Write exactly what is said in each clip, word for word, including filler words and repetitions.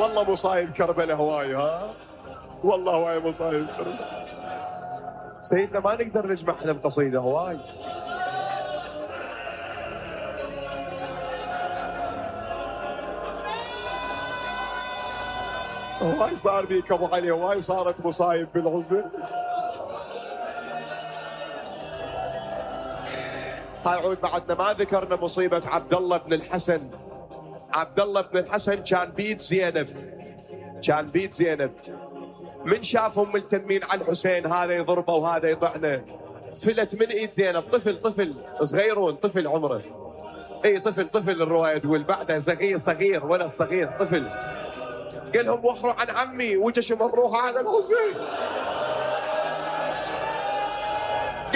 والله مصايب كربلاء هواي، ها والله هواي مصايب كربلاء. سيدنا ما نقدر نجمع احنا بقصيدة هواي. هواي صار بيك ابو علي، هواي صارت مصايب بالعزة. هاي عود بعدنا ما ذكرنا مصيبة عبد الله بن الحسن. عبد الله بن الحسن كان بيد زينب، كان بيد زينب. من شافهم ملتمين على الحسين، هذا يضربه وهذا يطعنه، فلت من ايد زينب. طفل طفل صغيرون، طفل عمره اي طفل طفل الرواية تقول، بعده صغير صغير ولد صغير طفل. قال لهم وخروا عن عمي، وجش يمروها على الحسين.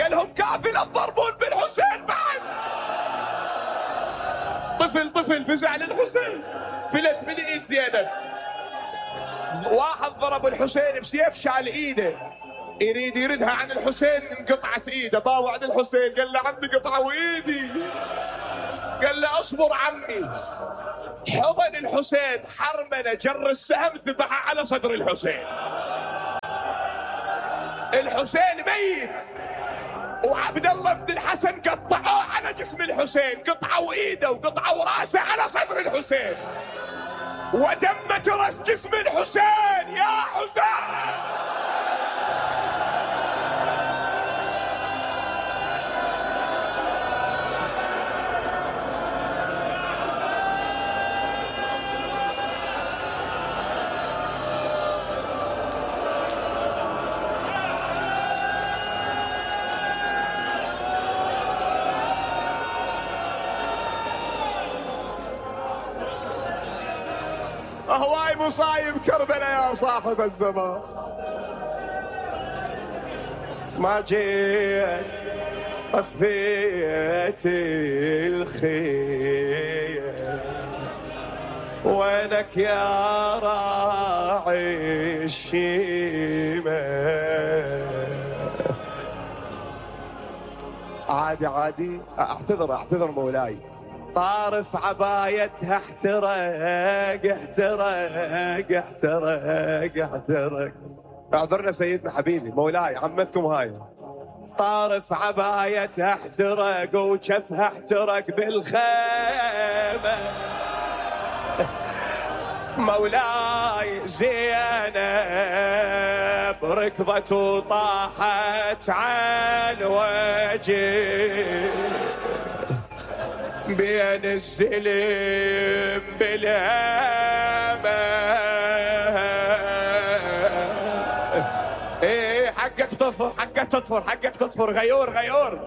قال لهم كافي لا تضربون بالحسين بعد. طفل طفل فزع للحسين، فلت من ايد زينب. واحد ضرب الحسين بسيف، شال ايده يريد يردها عن الحسين، انقطعت ايده. باوع عن الحسين قال له عمي قطعوا ايدي. قال له اصبر عمي. حضن الحسين، حرمله، جر السهم ذبحها على صدر الحسين. الحسين ميت، وعبد الله بن الحسن قطعوه على جسم الحسين، قطعوا ايده وقطعوا راسه على صدر الحسين، ودمت راس جسم الحسين. يا حسين هواي مصايب كربلاء يا صاحب الزمان. ما جيت طفيت الخير، وينك يا راعي الشيمة. عادي عادي، اعتذر اعتذر مولاي. طارف عبايتها احترق احترق احترق احترق. اعذرنا سيدنا حبيبي مولاي، عمتكم هاي. طارف عبايتها احترق وجفها احترق بالخيمة. مولاي زينب ركضت وطاحت عن وجه، بين الزلم بالهامة. ايه حقك تطفر، حقك تطفر، حقك تطفر. غيور غيور